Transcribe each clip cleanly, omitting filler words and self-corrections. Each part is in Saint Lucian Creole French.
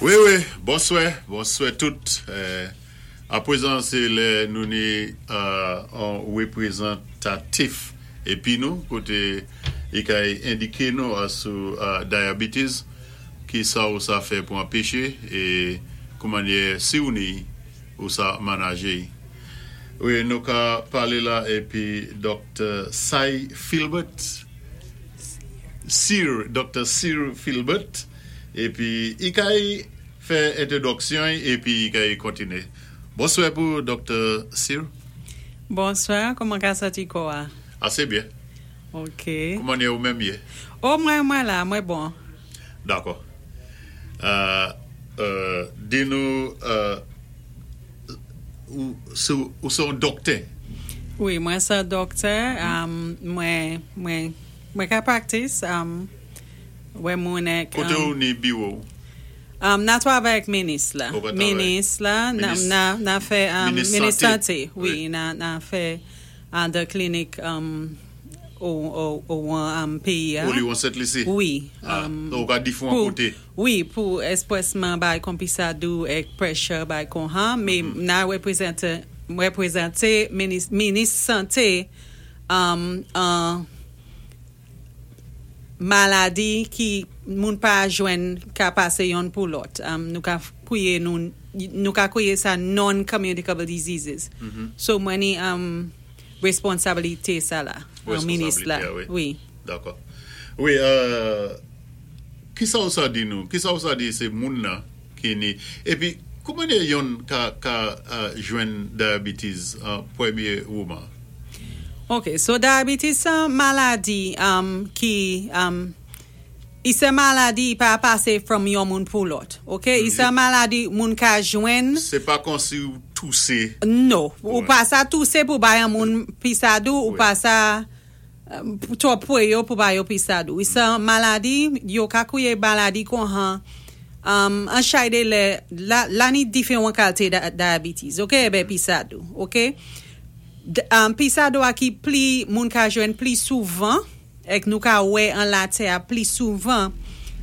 Wi wi, bonswè, bonswè tout. Apwezan sé lè nou ni on wépwézantatif épi nou koté i kay endiké nou sou diabetes, ki sa ou sa fè pou anpeché é koumannyè si ou ni ou sa manajé y. Wi nou ka palé la épi Doktè Sy Philbert, Sir, Doktè Sir Philbert. Epi i kay fè entwodòksyon y epi i kay kontine. Bonswè pou Doktè Cyr. Bonswè, kouman ka santi kò a? Ase byen. Ok. Kouman e ou menm ye? O mwen mwen la, mwen bon. Dakò. Di nou ou se yon doktè? Wi, mwen se yon doktè. Mwen mwen ka praktis. Wè moun ek. Kote ou ni biwo ou? Na twavay ak minis la. Ou pa travay? Minis la, na fè, minis sante, wi, na fè andan klinik ou an peyi a. Ou li wan Sent Lisi? Wi. Ou ka difwan kote? Wi, pou espresman bay kon pisadou ek pressure bay kon han, me na reprezante, reprezante minis sante an. Maladi ki moun pa jwenn ka pase yonn pou lòt. Nou ka kwiye nou, nou ka kwiye sa non-communicable diseases. So mwen ni responsabilite sa la, minis la. Responsabilite a wi. Dakò. Wi, kisa ou sa di nou? Kisa ou sa di se moun nan ki ni? Epi kouman de yonn ka ka jwenn diabetes an premye wouman? Ok, so diabetes se yon maladi ki, i se maladi i pa pase from yon moun pou lòt, ok, i se maladi moun ka jwenn. Se pa konsi ou touse. No, ou pa sa touse pou bay yon moun pisadou, ou pa sa twò pwe yo pou ba yo pisadou. I se yon maladi, yo ka kouye maladi kon han, an chay de lè, la ni diferan kalte diabetes, ok, ebe pisadou, ok. Pisado a ki pli moun ka jwenn pli souvan ek nou ka wè an latè a pli souvan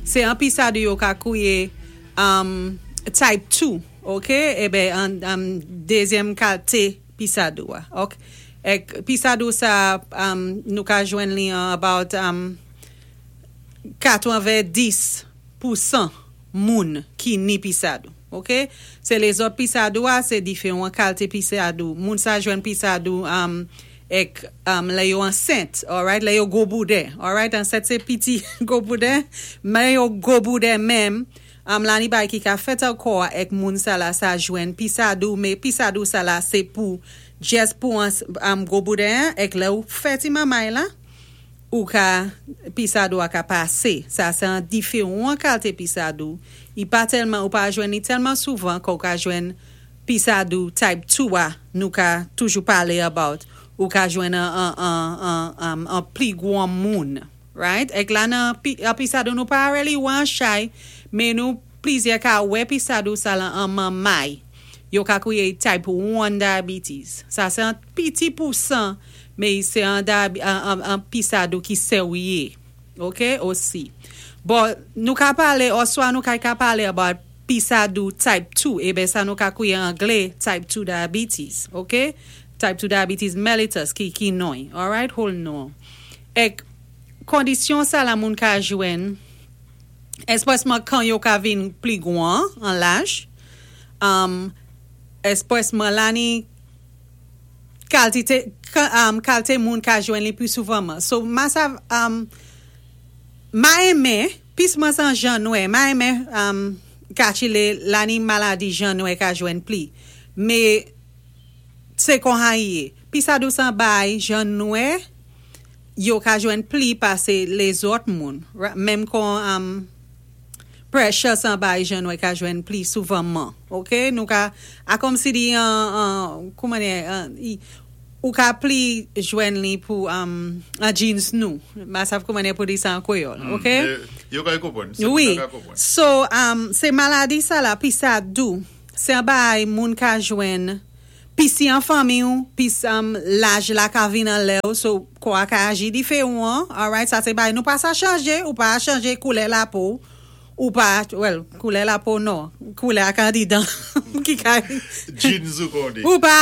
se an pisado yo ka kouye type 2 ok eben an dezyèm kalte pisado a ok ek pisado sa nou ka jwenn li an about 90% moun ki ni pisado. Ok se lezòt pisadou a se diferan kalte pisadou moun sa jwenn pisadou ek lè yo ansent alright lè yo gwo bouden alright ansent se piti gwo bouden men yo gwo bouden menm la ni bagay ki ka fèt ankò a ek moun sa la sa jwenn pisadou men pisadou sa la se pou jès pou gwo bouden an ek lè ou fè ti manmay la. Ou ka, pisadou a ka pase. Sa se an diferan kalte pisadou. I pa tèlman, ou pa jwenn li tèlman souvan ke ou ka jwenn pisadou type 2 a nou ka toujou pale about. Ou ka jwenn an an an an pli gwan moun. Right? Ek la nan an pisadou nou pa really wè an chay, men nou plizyè ka wè pisadou sa lan an manmay. Yo ka kriye type 1 diabetes. Sa se an piti pousan. Men se an an pisadou ki serye ok osi bon nou ka pale oswa nou ka ka pale about pisadou type 2 eben sa nou ka kouye angle type 2 diabetes ok type 2 diabetes mellitus ki ki non y alright whole non ek kondisyon sa la moun ka jwenn espresman kan yo ka vin pli gwan an laj espresman la ni Kaltite kalte moun ka jwenn li pi souvanman. So ma sa ma enmen pis mwen san jan nwè ma enmen kachile la ni maladi jan nwè ka jwenn pli. Me se konha i ye. Pi sa dousan bay jan nwè yo ka jwenn pli pase lezòt moun. Menm kon. Pressure san bay jan nwè ka jwenn pli souvanman ok nou ka a kòmsi li an kouman li ou ka pli jwenn li pou an jeans nou m pa sav kouman pou di sa an kreyòl ok yo ka konprann se wi moun nan ka konprann so se maladi sa la pi sa dou se an bagay moun ka jwenn pi si an fanmi ou pi laj la ka vin anlè ou so kò a ka aji diferan alright sa se bagay nou pa sa chanje ou pa chanje koulè lapo w. Ou pa, well, koulè lapo non, koulè ak andidan ki ka. Genes ou kon di. Ou pa,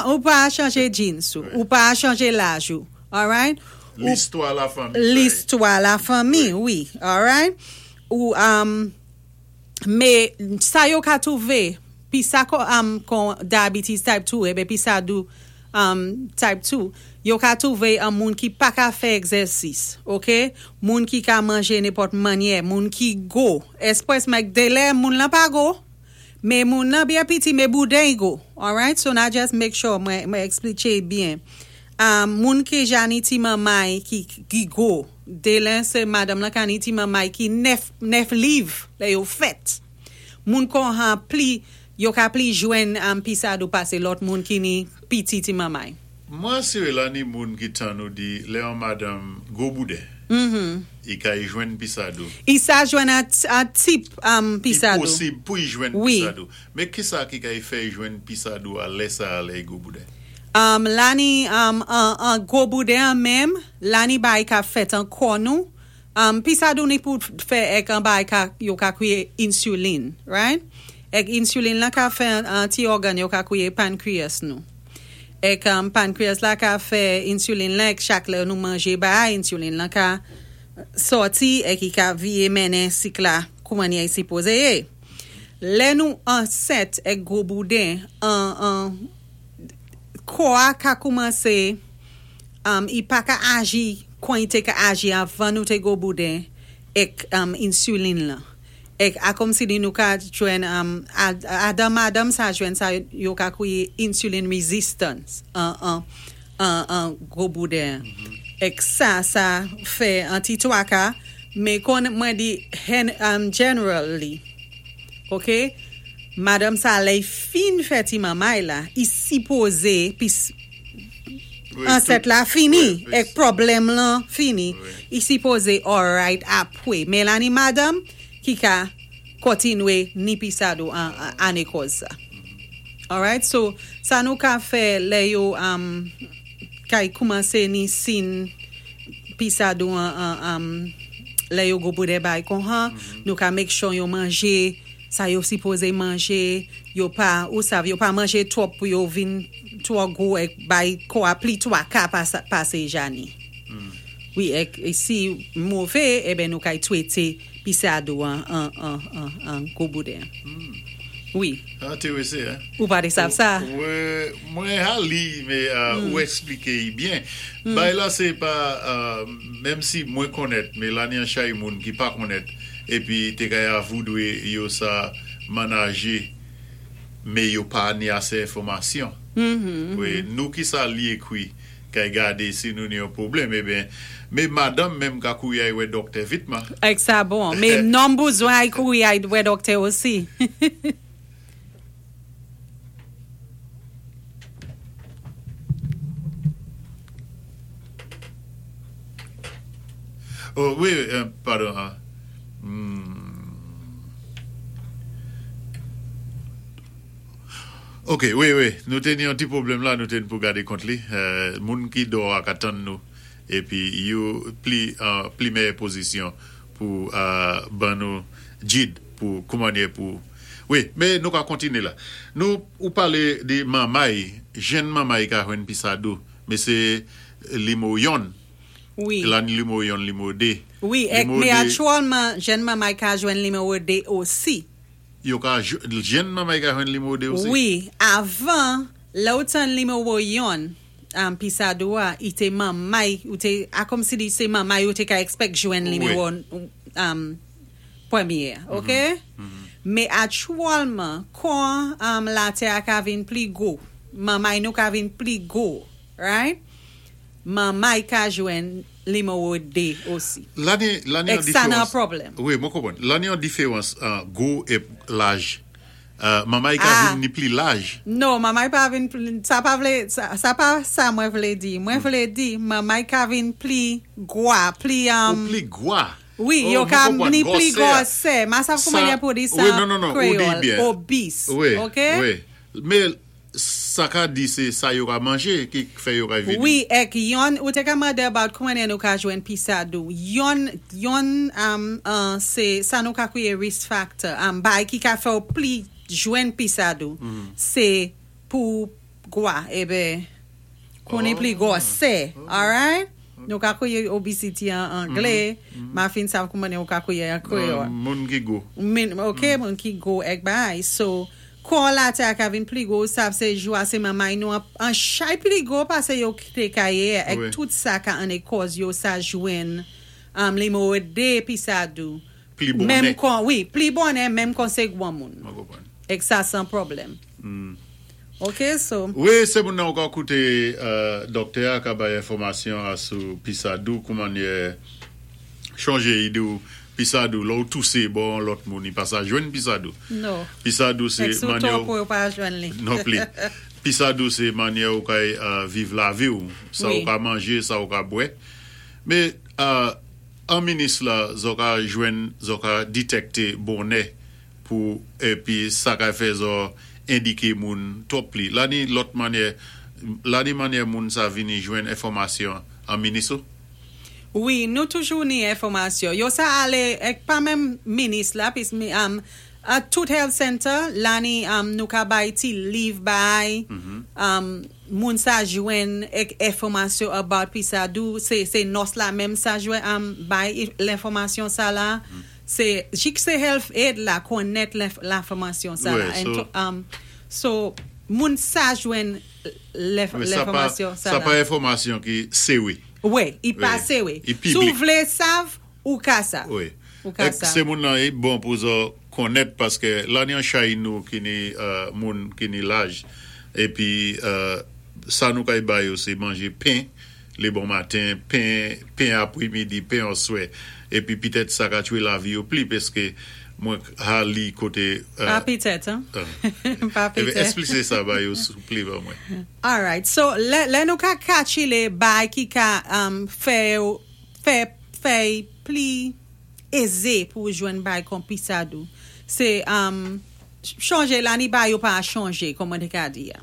ou pa chanje genes ou. Ou pa chanje laj ou. Alright? Listwa lafanmi. Listwa lafanmi, wi. Alright? Ou, um, mé sa yo ka twouvé, pi sa kon diabetes type 2, ében pi sa dou type 2, yo ka twouvé an moun ki pa ka fè egzèsis, ok? Moun ki ka manjé nenpòt mannyè, moun ki gwo. Espwès mèk délè moun lan pa gwo, mé moun lan byen piti mé bouden-y gwo. Alright? So na just make sure mwen ekspliké byen. Moun ki ja ni ti manmay ki gwo, délè sé madanm lan ka ni ti manmay ki 9 liv lè yo fèt. Moun konha pli Yo ka pli jwenn pisa dou pasé lòt moun ki ni piti ti manmay. Mwen asiré la ni moun ki tann ou di lè yon madanm gwo bouden i ka y jwenn pisa dou. I sa jwenn an tip pisa dou. I posib pou y jwenn pisa dou. Mé kisa ki ka y fè y jwenn pisa dou a lè sa a lè y gwo bouden? La ni an gwo bouden an menm, la ni bagay ka fèt an kò nou. Pisa dou ni pou fè èk an bagay ka yo ka kwiyé insulin, right? Èk insulin lan ka fè an ti ògàn yo ka kwiyé pancreas nou. Èk pancreas la ka fè insulin lan èk chak lè nou manjé bagay insulin lan ka sòti èk i ka viyé mennen sik la kou mannyè i sipozé yé. Lè nou ansent èk gwo bouden an an kò a ka koumansé i pa ka aji kon i té ka aji avan nou té gwo bouden èk insulin lan. Èk a kòmsi di nou ka jwenn adan madanm sa jwenn sa yo ka kwiyé insulin resistance an an gwo bouden an. Èk sa sa fè an ti twaka mé kon mwen di generally ok madanm sa lè i fin fè ti manmay la i sipozé pis ansent la fini èk pwoblèm lan fini i sipozé alright apwé mé la ni madanm ki ka kontinwé ni pisa dou an akòz sa alright so sa nou ka fè lè yo kay koumansé ni sin pisa dou an lè yo gwo bouden bay konha nou ka make sure yo manjé sa yo sipozé manjé yo pa ou sav yo pa manjé twòp pou yo vin twò gwo èk bay kò a pli twaka pasé ja ni wi èk si mové eben nou kay twété pisa dou an an gwo bouden wi. Entéréséan hein. Ou pa té sav sa? Mwen ha li mé ou ekspliké y byen. Bay la sé pa menm si mwen konnèt mé la ni an chay moun ki pa konnèt épi té kay avoudwé yo sa manajé mé yo pa ni asé enfòmasyon. Wi nou ki sa li ékwi kay gadé si nou ni yon pwoblèm eben mé madanm menm ka kouri ay wè dòktè vitman. Èk sa bon. Mé nonm bouzwen ay kouri ay wè dòktè osi. Oh wi padon Ok wi wi nou té ni yon ti pwoblèm la nou té ni pou gadé kont li moun ki dò a ka tann nou épi yo pli an pli mèyè pozisyon pou ban nou gid pou kouman ye pou wi mé nou ka kontine la nou ou palé de manmay jenn manmay ka jwenn pi sa dou mé sé limo yonn Wi. La ni nimewo yonn, nimewo 2. Wi, èk Nimewo mé 2. aktyèlman jenn manmay ka jwenn nimewo 2 osi. Yo ka jenn manmay ka jwenn nimewo 2 osi? Wi, avan, lè ou tann nimewo yonn, pi sa dou a, i té manmay, ou té, a kòmsi di sé manmay ou té ka expect jwenn Wi. nimewo pwèmyé a, ok? Mé aktyèlman, kon latè a ka vin pli gwo, manmay nou ka vin pli gwo, right? Manmay ka jwenn nimewo 2 osi. La ni la ni Èk yon sa nan diferans. pwoblèm. Wi, mwen konprann. La ni yon diferans an gwo e laj. Manmay ka Ah. vin ni pli laj. No, manmay pa vin pli, sa pa vlé, sa pa sa mwen vlé di. Mwen vlé di manmay ka vin pli gwa, pli Ou pli gwa. Wi, Oh, yo mwen ka konprann. ni pli Gwòsè a. gwòsè. Ma sav Sa, kouman ye pou di sa wi, an non, non, non, ou di kreyòl. byen. Obese. Wi, Ok? wi. Mé sa. Sa ka di sé sa yo ka manjé ki fè yo ka vini. Wi, èk yonn, ou té ka mandé about kouman nou ka jwenn pisadou. Yonn sé sa nou ka kwiyé risk factor, bay ki ka fè ou pli jwenn pisadou, sé pou gwa, ébé, kouni pli gwòsè, alright? Nou ka kwiyé obesity an anglé, ma fin sav kouman ou ka kwiyé an kwéyòl. Moun ki gwo. Ok, moun ki gwo èk bay. So, kò la té a ka vin pli gwo, sav sé jou a sé manmay nou an chay pli gwo pasé yo té ka yé, èk tout sa ka anné kòz yo sa jwenn nimewo 2 pisadou. Pli bonè. Menm kon, wi, pli bonè menm kon sé gwanmoun. Mwen konpwann. Èk sa 100 pwoblèm. Ok, so. Wi, sé moun nan ou ka kouté dòktè a ka bay enfòmasyon asou pisadou kouman yé chonjé i di ou pisadou lò ou tousé bò an lòt moun i pa sa jwenn pisadou. No. Pisadou sé Èk sou manyè to pou yo pa jwenn li. Non pli. Pisadou sé manyè ou kay viv lavi ou. Sa ou ka manjé, sa ou ka bwè. Mé an minis la zò ka jwenn, zò ka ditèkté bonè pou épi sa ka fè zò endiké moun twòp pli. La ni lòt manyè, la ni manyè moun sa vini jwenn enfòmasyon an minis ou? Wi, nou toujou ni enfòmasyon. Yo sa alé, èk pa menm minis la, pis mi, a tout health center, la ni nou ka bay ti liv bay, moun sa jwenn èk enfòmasyon about pisadou, sé nòs la menm sa jwenn, bay lenfòmasyon sa la. Sé, jik sé health aid la konnèt lenfòmasyon sa la. Wi, so. So, moun sa jwenn lenfòmasyon sa la. Sa pa enfòmasyon ki séwé. Wi, i pa séwé. I Si ou piblik. Vlé sav, ou ka sav. Wi. Ou ka Èk sav. Sé moun nan i bon pou zò konnèt paské la ni an chay nou ki ni moun ki ni laj épi sa nou kay ba yo sé manjé pen lé bon maten, pen apwémidi, pen oswè épi pitèt sa ka tchwé lavi yo pli paské mwen ha li koté Pa pitèt, an? Pa Ébé pitèt. Esplisé sa ba yo souplé ban mwen. Alright, so lè nou ka katchilé bay ki ka fè pli ézé pou jwenn bay kon pisadou. Sé chonjé la ni bay yo pa chonjé, kòman té ka di ya.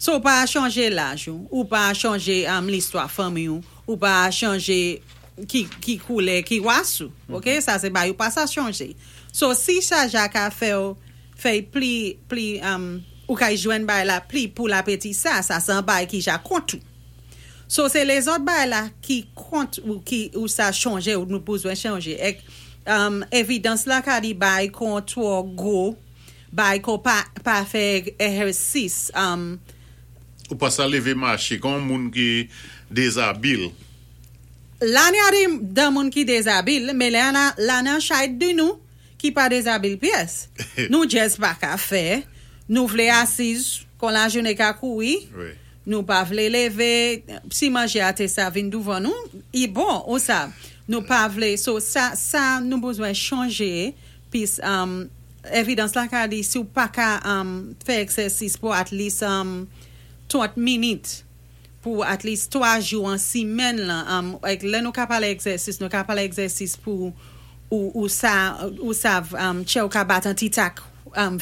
So ou pa chonjé laj ou, ou pa chonjé listwa fanmi ou, ou pa chonjé ki koulè, ki ras ou. Ok, sa sé bay ou pa sa chonjé. So si sa ja ka fè ou, fè pli, ou ka jwenn bay la pli pou lapeti sa, sa san bay ki ja kont ou. So sé lézòt bay la ki kont ou ki ou sa chonjé ou nou bezwen chonjé. Èk évidans la ka di bay kon twò gwo, bay kon pa fè égèsis. Ou pa sa lévé maché, kon moun ki dézabil. La ni a di dan moun ki dézabil, mé la nan chay di nou ki pa dézabil pyès. Nou jis pa ka fè, nou vlé asiz kon lajounen ka kouri, nou pa vlé lévé, si manjé a té sa vin douvan nou, i bon, ou sa, nou pa vlé, so sa nou bezwen chonjé, pis évidans la ka di si ou pa ka fè égzèsis pou at least 30 minit, pou at least 3 jou an simèn lan, èk lè nou ka palé égzèsis, nou ka palé égzèsis pou ou sa tchè ou ka bat an ti tak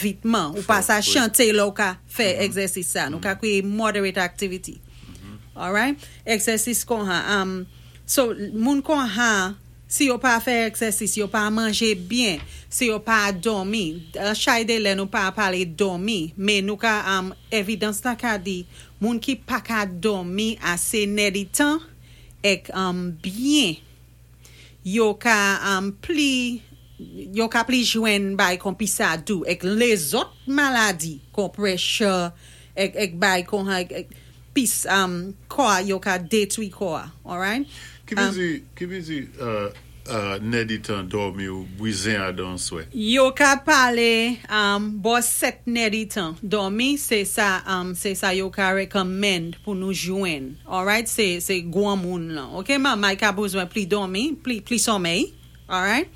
vitman, ou pa sa chanté lò ou ka fè égzèsis sa, nou ka kwié moderate activity. Alright? Égzèsis kon ha. So, moun kon ha, si yo pa fè égzèsis, yo pa manjé byen, si yo pa dòmi, chay dé lè nou pa palé dòmi, mé nou ka, évidans la ka di, moun ki pa ka dòmi asé nèditan, èk byen, yo ka pli jwenn bay kon pisadou, èk lézòt maladi, kon pressure, èk bay kon ha, èk, pis kò yo ka détwi kò, alright? Ki vlé di nèditan dòmi ou bwizen adan swè? Yo ka palé bò 7 nèditan dòmi, sé sa yo ka recommend pou nou jwenn. Alright? Sé gwan moun lan. Ok, manmay ka bezwen pli dòmi, pli somèy. Alright?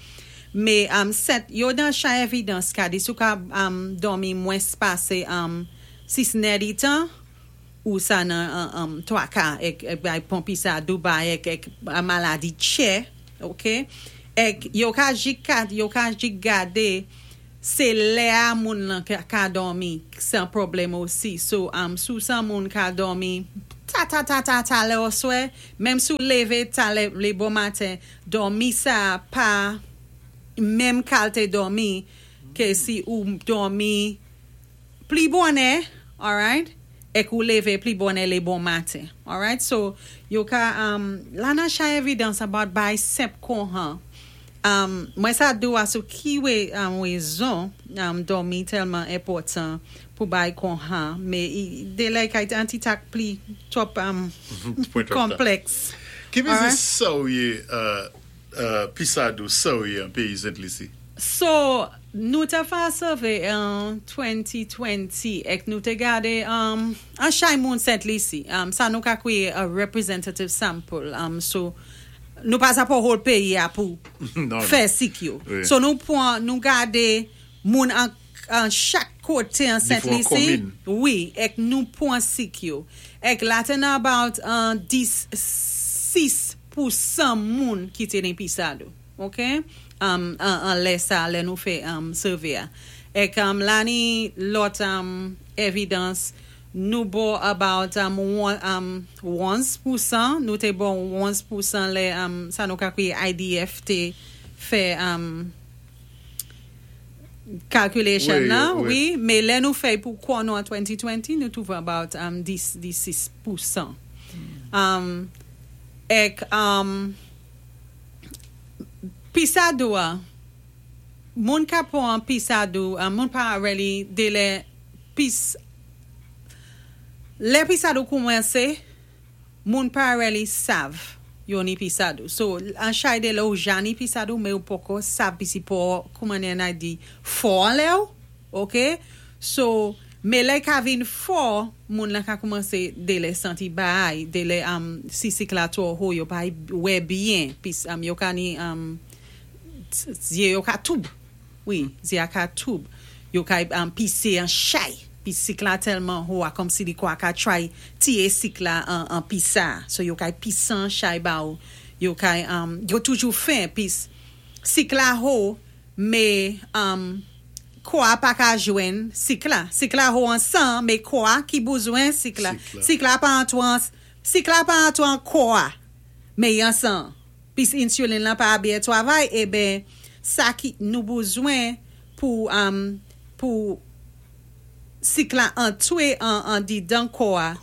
Mé 7, yo dan chay évidans ka di sou ka dòmi mwens pasé 6 nèditan, ou sa nan 3 ka èk bay pon pisadou bay èk maladi tchè, ok? Èk yo ka jik gadé. Sé lè-a moun lan ka dòmi san pwoblèm osi. So, sou sa moun ka dòmi ta ta ta ta ta lè oswè, menm sou lévé ta lè, lé bon maten, dòmi sa pa menm kalité dòmi ké si ou dòmi pli bonè, alright, èk ou lévé pli bonè lé bon maten. Alright, so yo ka, la nan chay evidence about bay senp konhan. Mwen sa di-w sou ki wé wézon dòmi tèlman enpòtan pou bay konhan, mé dé lè kay an ti tak pli twòp konplèks. Ki mézi sa ou yé pisadou sa ou yé an péyi Sent Lisi? So, nou té fè survey an 2020 èk nou té gadé an chay moun Sent Lisi. Sa nou ka kwiyé a representative sample. So, nou pa sa pou whole péyi-a pou fè sik yo. So nou pwan, nou gadé moun an chak koté an Sent Lisi. Wi, èk nou pwan sik yo. Èk la té nan about 10, 6% moun ki té ni pisadou. Ok? An lè sa, lè nou fè survey a. Èk la ni lòt evidence, nou bo about 11%, nou té bo 11% lè sa nou ka kwiyé IDF té fè calculation nan, wi, mé lè nou fè pou kò nou an 2020, nou twouvé about 10, 6%. Èk pisadou a, moun ka pwan pisadou, moun pa really dé lè pis, lè pisadou koumansé, moun pa really sav yo ni pisadou. So, an chay dé lè ou ja ni pisadou, mé ou poko sav pis i po, kouman na di, fò an lè ou, ok? So, mé lè ka vin fò, moun la ka koumansé dé lè santi bay, dé lè si sik la twò ho, yo pa wè byen, pis yo ka ni, zyé yo ka toub. Wi, zyé a ka toub. Yo ka pisé an chay. Pi sik la tèlman ho a kòm si li kwa ka try tiyé sik la an pisa. So yo kay pisan chay ba ou. Yo kay, yo toujou fen pis sik la ho, mé kò a pa ka jwenn sik la. Sik la ho an san, mé kò a ki bezwen sik la. Sik la pa antwan, sik la pa antwan kò a, mé an san. Pis insulin la pa byen twavay, é ben sa ki nou bezwen pou sik la antwé an didan kò a,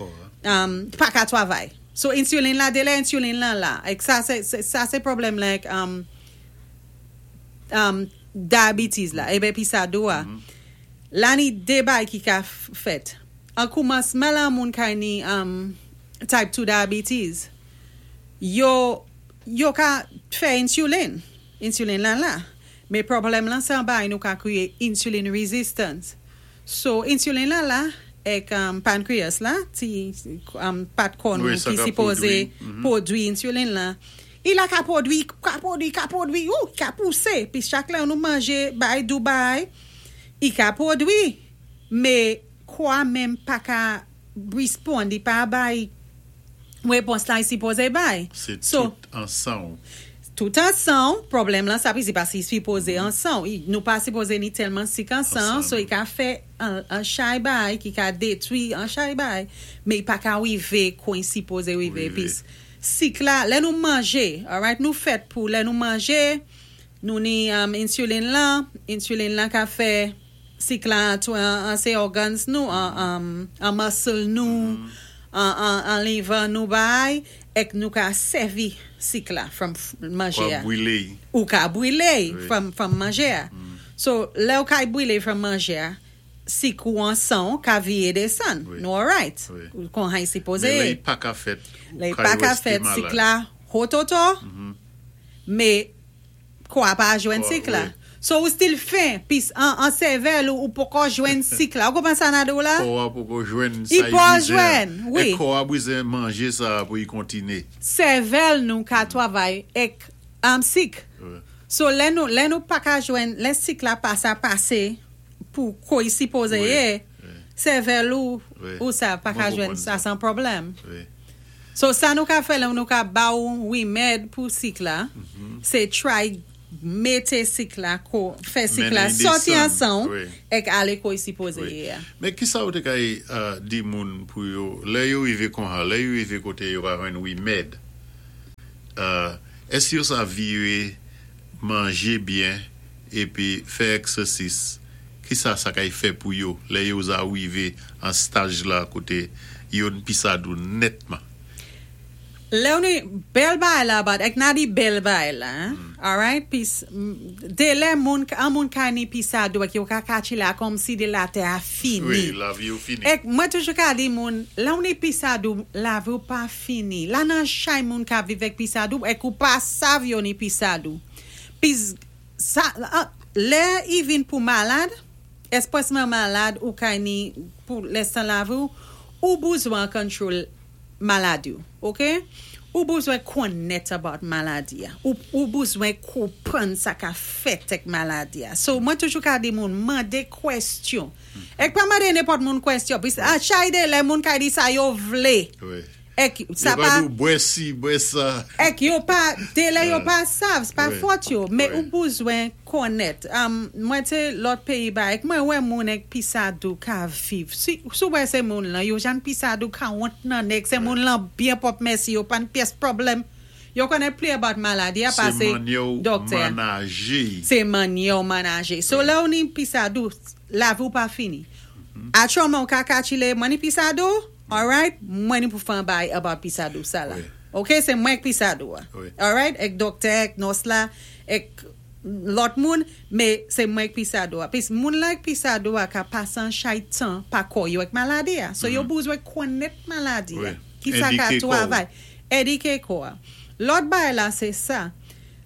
pa ka twavay. So insulin la, dé lè insulin lan la. Èk sa sé pwoblèm la èk diabetes la, é ben pisadou a. La ni dé bay ki ka fèt. An koumansman la moun kay ni type 2 diabetes, yo ka fè insulin. Insulin lan la. Mé pwoblèm lan sé an bay nou ka kwiyé insulin resistance. So, insulin lan la, èk pancreas la, ti pat kò nou ki sipozé pwodwi insulin la, i la ka pwodwi, ka pwodwi, ka pwodwi, ou, ka pousé. Pi chak lè nou manjé bay dou bay, i ka pwodwi. Mé kò a menm pa ka respond, i pa bay wépons la i sipozé bay. Sé tout an san. Tout an san, pwoblèm lan sa pi si pa si sipozé an san. Nou pa sipozé ni tèlman sik an san, so i ka fè an chay bay, ki ka détwi an chay bay, mé i pa ka wivé kon i sipozé wivé. Pi sik la, lè nou manjé, alright, nou fèt pou lè nou manjé, nou ni insulin lan, insulin lan ka fè sik la an sé organs nou, an muscle nou, an liver nou bay, èk nou ka sèvi sik la from manjé a. Ou ka bwilé from manjé a. So, lè ou ka bwilé from manjé a, sik ou an san ka viyé désann. Nou alright. Kon han sipozé. Mé lè i pa ka fèt. Lè i pa ka fèt, sik la hototo, mé kò a pa jwenn sik la. So ou still fen, pis an sèvèl ou poko jwenn sik la. Ou konprann sa na di ou la? Kò a poko jwenn sa i po jwenn, wi. É kò a bezwen manjé sa pou i kontiné. Sèvèl nou ka twavay èk sik. So lè nou pa ka jwenn, lè sik la pa sa pasé pou ko i sipozé yé, sèvèl ou sa pa ka jwenn sa san pwoblèm. So sa nou ka fè lè nou ka ba ou wimèd pou sik la, sé try mété sik la ko, fè sik la Mennen sòti désann, an san'w wi. Èk alé ko i sipozé yé a. Men ki sa ou té kay di moun pou yo, lè yo rivé konha, lè yo rivé koté yo ka jwenn wimèd, èske yo sa viré manjé byen épi fè èksèsis, ki sa sa kay fè pou yo lè yo za rivé an staj la koté yo n pisadou nètman? Lè ou ni bèl bagay la about, èk na di bèl bagay la, alright, pis dé lè moun, an moun ka ni pisadou èk yo ka katchilé a kòm si dé latè a fini. Wi, lavi yo fini. Èk mwen toujou ka di moun, lè ou ni pisadou, lavi ou pa fini. La nan chay moun ka viv èk pisadou, èk ou pa sav yo ni pisadou. Pis sa, lè i vin pou malad, èspwèsman malad ou kay ni pou lèstan lavi ou, ou bezwen control maladi ou, ok? Ou bezwen konnèt about maladi a. Ou bezwen konpwann sa ka fèt èk maladi a. So, mwen toujou ka di moun, mandé kwèstyon. Èk pa mandé nenpòt moun kwèstyon. Pis a chay dé lè moun ka di sa yo vlé. Èk sa Yo pa pa di ou bwè si, bwè sa. Èk yo pa, dé lè yo pa sav, sé pa fòt yo. Men ou bezwen konnèt. Mwen té lòt péyi ba, èk mwen wè moun èk pisadou ka viv. Si ou wè sé moun lan, yo jan pisadou ka wont nan nèg, sé moun lan byen pwòp mèsi, yo pa n pyès pwoblèm. Yo konnen pli about maladi a Sé pasé mannyè ou doktè. manajé. Sé mannyè ou manajé. So lè ou ni pisadou, lavi ou pa fini. Aktyèlman ou ka katchilé, mwen ni pisadou, alright, mwen ni pou fè an bagay about pisadou sa la. Ok, sé mwen k pisadou a. Alright, èk doktè, èk nòs la, èk lòt moun, men sé mwen k pisadou a. Pis moun la k pisadou a ka pasé an chay tan pa kò yo èk maladi a. So yo bezwen konnèt maladi a. Ki sa ka Édiké kò ou. twavay. Édiké kò a. Lòt bagay la sé sa.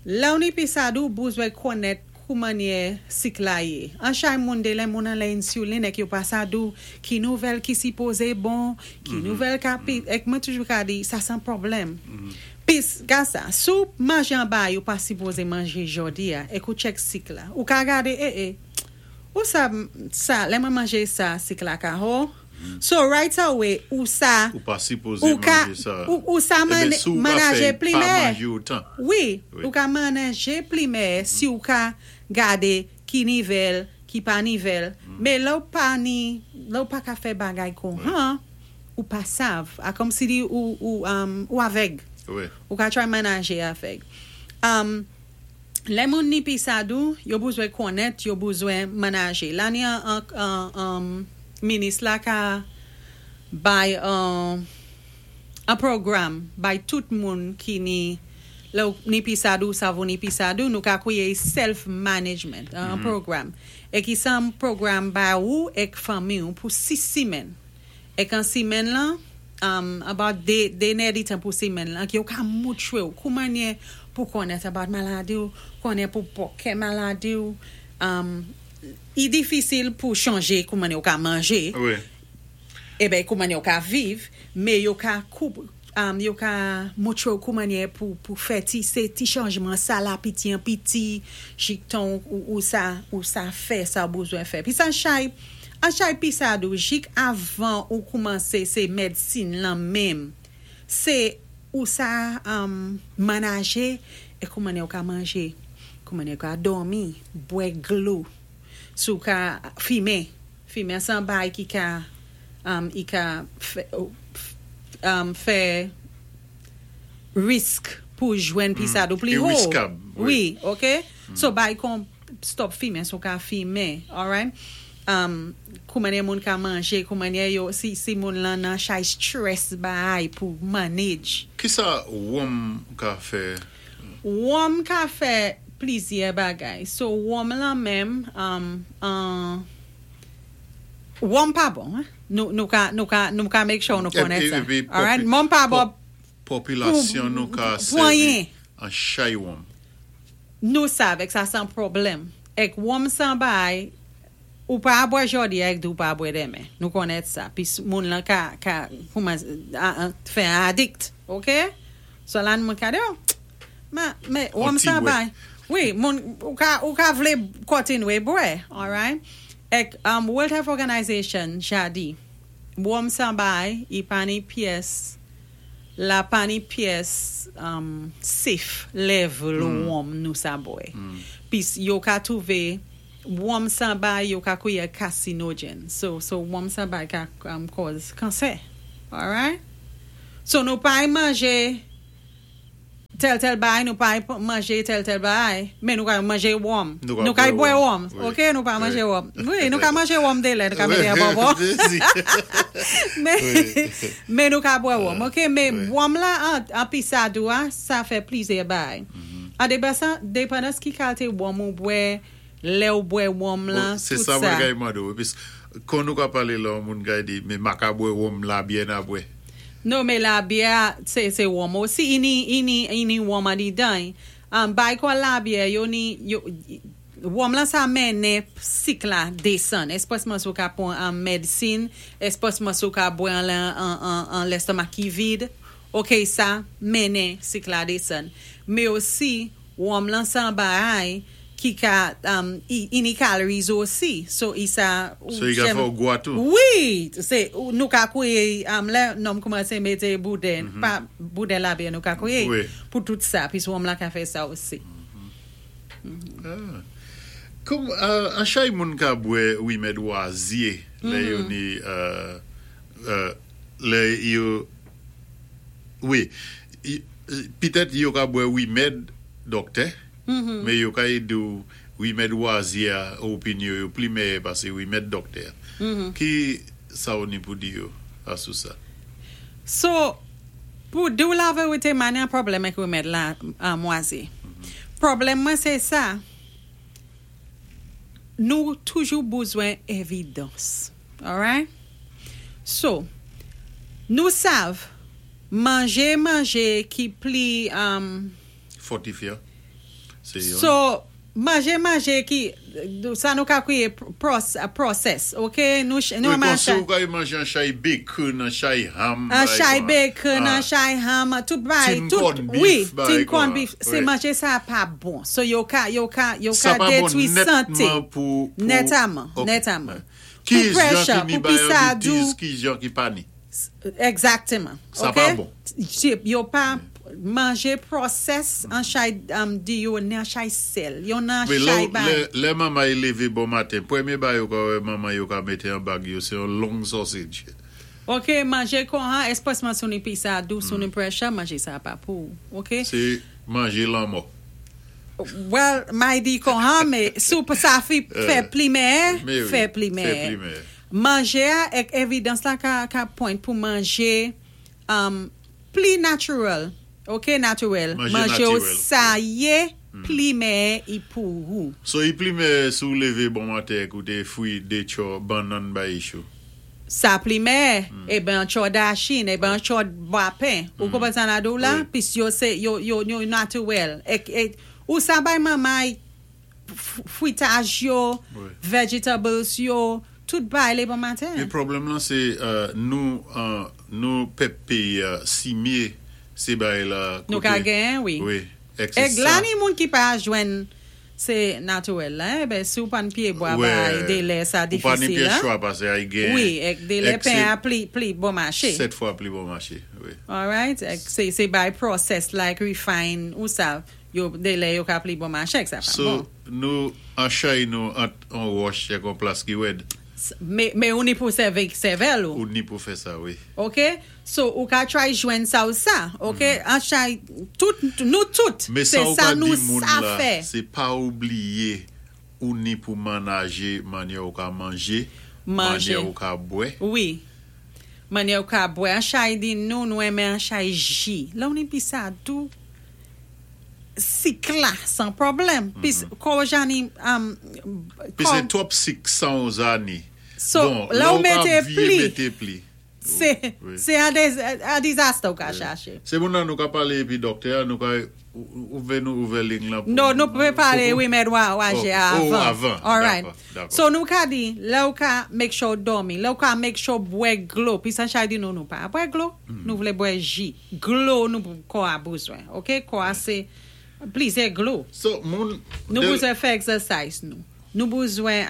Lè ou ni pisadou, bezwen konnèt kou mannyè sik la yé. An chay moun dé lè moun an lè insulin èk yo pa sadou, ki nouvèl ki sipozé bon, ki nouvèl ka pi, èk mwen toujou ka di, sa san pwoblèm. Pis, ga sa, si ou manjé an bagay ou pa sipozé manjé jòdi a, èk ou tchèk sik la, ou ka gadé, eh eh, ou sa, sa, lè mwen manjé sa, sik la ka ho. So right away, ou sa, Ou pa sipozé ou ka, manjé sa. ou sa Eben, si ou ka manajé fè pa plimè. manjé otan. Wi, ou ka manajé plimè si ou ka gadé ki nivèl, ki pa nivèl. Men lè ou pa ni, lè ou pa ka fè bagay konha, ou pa sav. A kòm si di ou avèg. Ou ka try manajé avèg. Lè moun ni pisadou, yo bezwen konnèt, yo bezwen manajé. La ni an minis la ka bay an pwogram bay tout moun ki ni lè ou ni pisadou, sav ou ni pisadou, nou ka kwiyé self-management, an pwogram. É ki sa an pwogram ba ou èk fanmi ou pou 6 simèn. Èk an simèn lan, about dé nèditan pou simèn lan, ki yo ka moutwé ou kou mannyè pou konnèt about maladi ou, konnen pou pòkè maladi ou. I difisil pou chanjé kou mannyè ou ka manjé, eben kou mannyè ou ka viv, men yo ka koup, yo ka moutwé ou kou mannyè pou fè ti, sé ti chanjman sa la piti an piti, jiktan ou sa fè sa ou bezwen fè. Pi sa chay, an chay pisadou, jik avan ou koumansé sé médsin lan menm, sé ou sa manajé, é kou mannyè ou ka manjé, kou mannyè ou ka dòmi, bwè dlo, si ou ka fimen, fimen san bay ki ka, i ka fè risk pou jwenn pisadou pli I ho. riskab. Wi, ok? So bay kon stop fimen, so ka fimen, alright? Kou mannyè moun ka manjé, kou mannyè yo, si moun lan nan chay stress bay pou manage. Ki sa wonm ka fè? Wonm ka fè plizyè bagay. So wonm lan menm, wonm pa bon, eh? Nou ka make sure nou konnèt sa. Épi, Alright? Wonm pa bon Popilasyon nou ka pou sèvi anyen. an chay wonm. Nou sav èk sa san pwoblèm. Èk wonm san bay, ou pa bwè jòdi èk di ou pa bwè denmen. Nou konnèt sa. Pi moun lan ka kouman, fè an addict. Ok? So lan moun ka di, oh, ma, me, wonm ti san bwè. bay. Wi, moun, ou ka vlé kontinwé bwè. Alright? Èk World Health Organization, ja di, wonm san bay, i pa ni pyès. La pa ni pyès safe level wonm nou sa bwè. Pis yo ka twouvé wonm sa bay yo ka kwiyé carcinogen. So wonm sa bay ka cause kansè. Alright? So nou pa manjé tèl tèl bay, nou pa manjé tèl tèl bay, men nou ka manjé wonm. Nou ka bwè wonm. Ok, nou pa manjé wonm. Wi, nou ka manjé wonm délè, nou ka mété an bonbon. Men nou ka bwè wonm. Ok, men wonm la an pisadou a, sa fè plizyè bay. An depandans ki kalté wonm ou bwè, lè ou bwè wonm lan, Se tout sa mwen sa. kay mande ou. Pis, kon nou ka palé la, moun kay di, men ma ka bwè wonm labyè na bwè. Non, men labyè, sé wonm osi. I ni, i ni, i ni wonm andidan. Bay kon labyè, yo ni, yo, wonm lan sa mennen sik la désann. Espwèsman si ou ka pwan an medsin, espwèsman si ou ka bwè an lestomak ki vid. Ok, sa mennen sik la désann. Men osi, wonm lan sa bay ki ka, i ni calories osi. So, i sa... So, i ka fè ou gwa tou? Wi! Sé, nou ka kwiyé, lè nonm koumansé mété bouden, pa bouden labyè nou ka kwiyé, pou tout sa, pis wonm la ka fè sa osi. Kòm, an chay moun ka bwè wimèd wazyé, lè yo ni, lè yo, wi, pitèt yo ka bwè wimèd dòktè, men yo ka édé ou wimèd wazyé a, opinyon yo pli mèyè pasé wimèd dòktè. Ki sa ou ni pou di yo asou sa? So, pou di ou laverité, ma ni an pwoblèm ak wimèd la mwazyé. Pwoblèm mwen sé sa, nou toujou bezwen evidans. Alright? So, nou sav, manjé manjé ki pli Fòtifyan. Sé yon. So, manjé manjé ki, sa nou ka kwiyé process, ok? Nou Wi, kon manje si ou ka manjé an chay bacon, an chay ham, An bay chay kon. bacon, an chay ham, tout bay, Tin tout, corn wi, beef, bay tin corn kon. beef, sé manjé sa pa bon. So, yo Sa ka pa bon détwi santé. nètman pou Nètaman, Ok. nètaman. Ki Pou jan pressure, ki ni pou pisadou. diabetes, ki jan ki pa ni. Exactement. Sa Ok? pa bon. Yo pa manjé process an chay di yo ni an chay sèl. Yo nan Men chay lè, bay. lè, lè manman yi lévé bon maten, pwémyé bay yo ka wè manman yo ka mété an bag yo, sé yon long sausage. Ok, manjé kon an, espwèsman si ou ni pisadou, si ou ni pressure, manjé sa pa pou. Ok? Sé manjé lanmò. Well, may di kon an, men sou sa fi fè pli mèyè, Mais oui, fè pli fè mèyè. pli mèyè. Manjé a, ek evidans la ka point pou manjé pli natural. Ok, naturel. Manjé Manjé ou naturel. sa yé, pli mèyè i pou ou. So, i pli mèyè si ou lévé bon maten koute fwi de tcho bannann bay chou. Sa pli mèyè, é ben an tcho dachin, é ben an tcho bwapen. Ou konpwann sa na di ou la? Wi. Pis yo sé, yo naturel. Ek, ou sa bay manmay fwitaj yo, vegetables yo, tout bay lé bon maten. Men pwoblèm lan sé nou pèp péyi a simyé sé bay la Nou ka gen, wi. Wi, ek sé Ek la sa. ni moun ki pa jwenn sé naturel la, eh ben si ou pa ni pyébwa bay délè sa Ou pa ni difisil pyé la. chwa pasé ay gen. Wi, ek délè Ek pen a pli bon maché. 7 fwa pli bon maché, wi. Alright, ek sé bay process like refine ou sa, yo délè yo ka pli bon maché, ek sa pa So, bon. nou an chay nou ant an wòch ek an plas ki wèd. Men ou ni pou sèvi sèvèl ou. Ou ni pou fè sa, wi. Ok? So, ou ka try jwenn sa ou sa, ok? An chay, tout, nou tout, Men sé sa ou sa ka nou di moun sa la, fè. sé pa oubliyé ou ni pou manajé manyè ou ka manjé, Manjé. manyè ou ka bwè. Wi. Manyè ou ka bwè. An chay di nou, nou enmen an chay ji. La ou ni pisadou, sik la, san pwoblèm. Pis, ko jani, Pis sé twòp sik san ou zani. So, Bon, la ou la ou ka mété vye pli. mété pli. Sé, sé an disaster ou ka chaché. Sé moun nan nou ka palé épi dòktè, nou ka ouvè nou ouvè ling lan pou Non, nou pwé palé, wi, men waje Oh, avan. avan. Alright. Dakò, dakò. So nou ka di, lè ou ka make sure dòmi, lè ou ka make sure bwè dlo, pi san chay di nou nou pa bwè dlo, nou vlé bwè ji. Dlo nou kò a bezwen, ok? Kò a sé plizyè dlo. So, moun Nou bezwen fè exercise nou. Nou bezwen,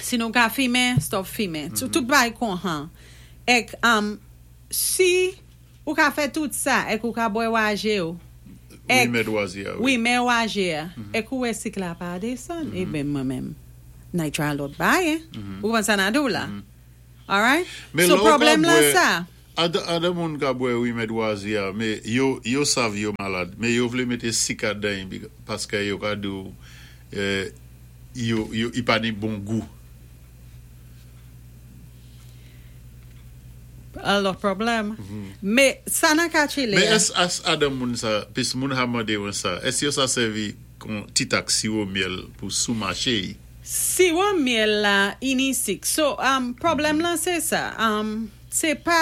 si nou ka fimen, stop fimen. Tout bay kon han. Ek, si Ou ka fè tout sa, èk ou ka bwè waje ou. Wi, mèd waze a, wi. Wi, mè waje a. Èk ou wè sik la pa desann. E ben mwen menm, nay try lòt bagay. Ou konprann sa nan di w la? Alright? Men So lè ou ka pwoblèm lan bwè, sa. a de moun ka bwè rimèd waze a, men yo, yo sav yo malad, men yo vlé mété sik adan y paskè yo ka di w yo, yo, i pa ni bon gou. An lòt pwoblèm. Mé sa nan ka chile Men a. ès as adan moun sa, pis moun ha mandé wen sa, ès yo sa sèvi kon ti tak siwo myèl pou sou maché y? Siwo myèl la ini sik. So, pwoblèm lan sé sa. Sé pa,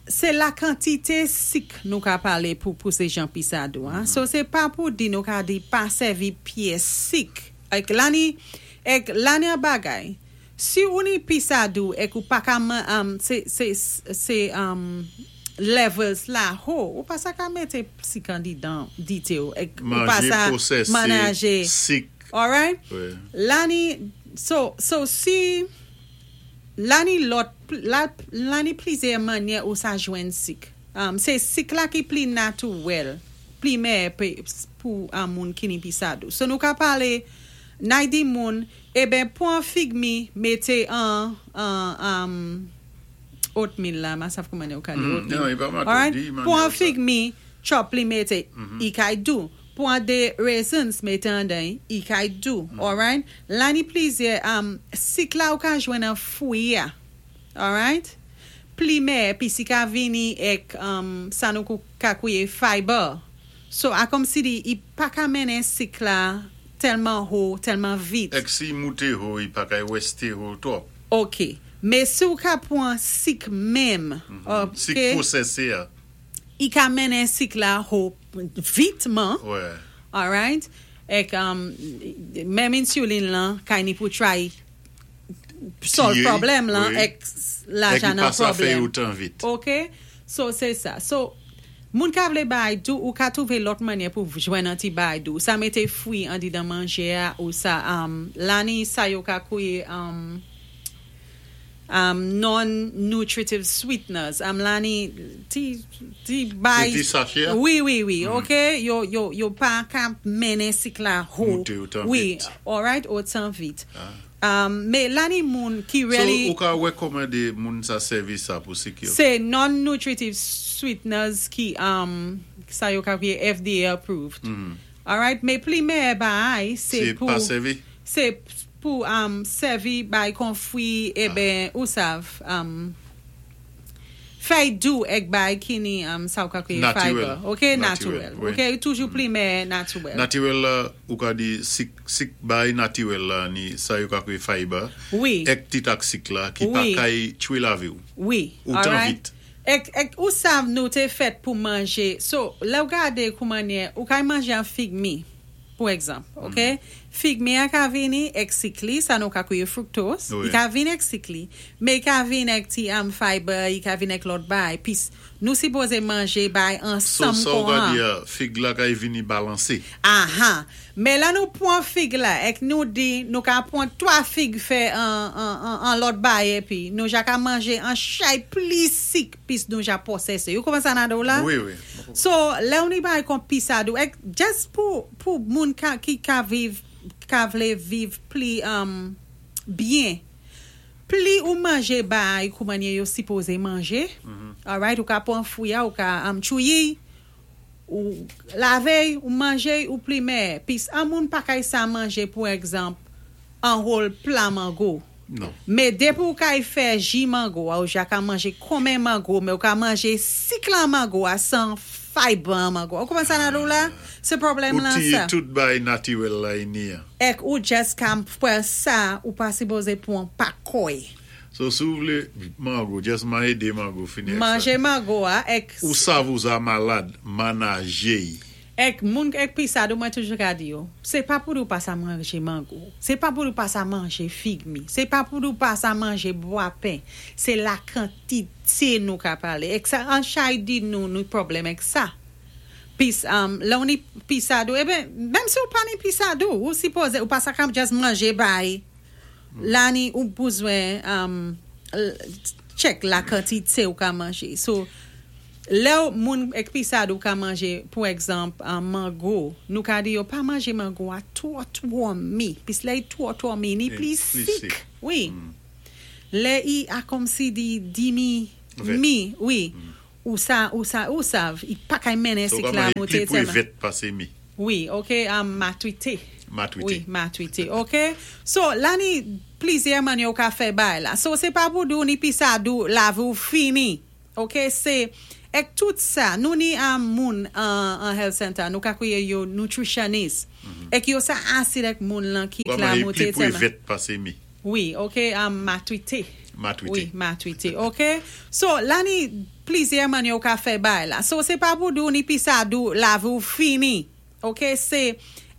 sé la kantité sik nou ka palé pou pousé jan pisa dou a. So, sé pa pou di nou ka di pa sèvi pyès sik. Èk la ni, èk la ni an bagay. Si ou ni pisa dou èk ou pa ka man, sé, sé, sé levels la ho, ou pa sa ka mété sik andidan dité ou. Èk ou pa Manjé sa pwosésé manaje. sik. Alright? Wi. La ni, so, so si, la ni lòt, la, la ni plizyè mannyè ou sa jwenn sik. Sé sik la ki pli natouwèl, pli mèyè pou moun ki ni pisa dou. So nou ka palé, nay di moun, eben pwan fig mi, mété an, an, oatmeal la, ma sav kouman yo ka di oatmeal. Non, i pa mato Alright? di manyè Pwan sa. fig mi, chop li mété, i kay dou. Pwan dé raisins mété andan, i kay dou. Alright? La ni plizyè, sik la ou ka jwenn an fwi a. Alright? Pli mèyè, pi si ka vini èk sa nou ka kwié fiber. So, a kòm si di, i pa ka mennen sik la tèlman ho, tèlman vit. Èk si mouté ho, i pa kay wèsté ho twòp. Ok. Mé si ou ka pwan sik menm, ok? Sik pwosésé a. I ka mennen sik la ho vitman. Wè. Alright? Èk menm insulin lan, kay ni pou try solve Tiyé, pwoblèm lan, wi. Èk la Èk i ja nan pa sa fè pwoblèm. otan vit. Ok? So, sé sa. So, moun ka vlé bay dou, ou ka twouvé lòt mannyè pou jwenn an ti bay dou. Sa mété fwi andidan manjé a, ou sa, la ni sa yo ka kwié non-nutritive sweeteners. La ni ti, ti bay. Sé ti sachè a? Wi, ok? Yo, yo, yo pa ka mennen sik la ho. Mouté otan Wi, vit. Alright, otan vit. Mé la ni moun ki So, really ou ka wékòmandé moun sa sèvi sa pou sik yo? Sé non-nutritive sweeteners ki sa yo ka kwié FDA approved. Alright, mé pli mèyè bay, sé Sé pou pa sèvi? Sé pou sèvi bay kon fwi, eben, ou sav, fèy dou èk bay ki ni sa ou ka kwié Natirèl. Fiber. Ok, Natirèl, natirèl. Wi. Ok, toujou pli mèyè natirèl. Natirèl la, ou ka di sik, sik bay natirèl la ni sa yo ka kwié fiber. Èk ti tak sik la ki pa kay tchwé lavi ou. Otan vit. Èk, èk, ou sav nou té fèt pou manjé. So, lè ou gadé koumannyè, ou kay manjé an fig mi, pou egzanp, ok? Fig mi a ka vini èk sik li, sa nou ka kwié fructose. I ka vini èk sik li, mé i ka vini èk ti fiber, i ka vini èk lòt bay. Pis nou sipozé manjé bay So, ansanm sa ou kon ka an. di a, fig la kay vini balansé. Aha. Mé la nou pwan fig la, èk nou di, nou ka pwan 3 fig fè an, an, an, an lòt bay épi, nou ja ka manjé an chay pli sik pis nou ja pwosésé. Ou konpwann sa nan do la? Wi. So, lè ou ni bay kon pisa dou, èk just pou, pou moun ka, ki ka viv, ka vlé viv pli byen, pli ou manjé bay koumannyè yo sipozé manjé, alright, ou ka pwan fwi a, ou ka tchouyi, ou lavé, ou manjé, ou pli mèyè. Pis an moun pa kay sa manjé, pou egzanp, an whole pla mango. Non. Mé dépi ou kay fè ji mango a, ou ja ka manjé konmen mango, mé ou ka manjé sik lan mango a san fiber an mango. Ou konpwann sa nan do la? Sé pwoblèm Ou lan ti sa. tout bay natirèl la ini a. Èk ou just ka pwan sa, ou pa sipozé pwan pa koy. So, si ou vlé mango, just manje dé mango fini ak sa. Manjé mango a, èk Ou sav ou za malad, manajé y. Èk moun èk pisa dou mwen toujou ka di yo, sé pa pou ou pa sa manjé mango, sé pa pou ou pa sa manjé fig mi, sé pa pou ou pa sa manjé bwa pen, sé la kantité nou ka palé. Èk sa, an chay di nou, nou pwoblèm èk sa. Pis, lè ou ni pisa dou, eben, menm si ou pa ni pisa dou, ou sipozé, ou pa sa ka just manjé bay, la ni ou bezwen check la kantité ou ka manjé. So, Lè moun èk pisadou ka manjé, pou egzanp, mango, nou ka di yo pa manjé mango-a twò twò mi, pis lè i twò twò mi, ni plis sik. Wi. Lè i a kòmsi di dimi mi, wi. Ou sa, ou sa, ou sav, i pa kay mennen So sik la kòman i moute pli pwé tèlman. Vèt pasé mi. Wi, ok, matrité. Matrité. Wi, matrité, ok. So, la ni plizyè mannyè ou ka fè bay la. So, sé pa pou di-w ni pisadou lavi-w fini. Ok, sé èk tout sa, nou ni moun an health center, nou ka kwiyé yo nutritionist. Èk yo sa asid èk moun lan ki Kòman la i pli moute pwé tèlman. Vèt pasé mi. Wi, ok, matrité. Matrité. Wi, matrité, ok. So, la ni plizyè mannyè ou ka fè bay la. So, sé pa pou di-w ni pisadou lavi-w fini. Ok, sé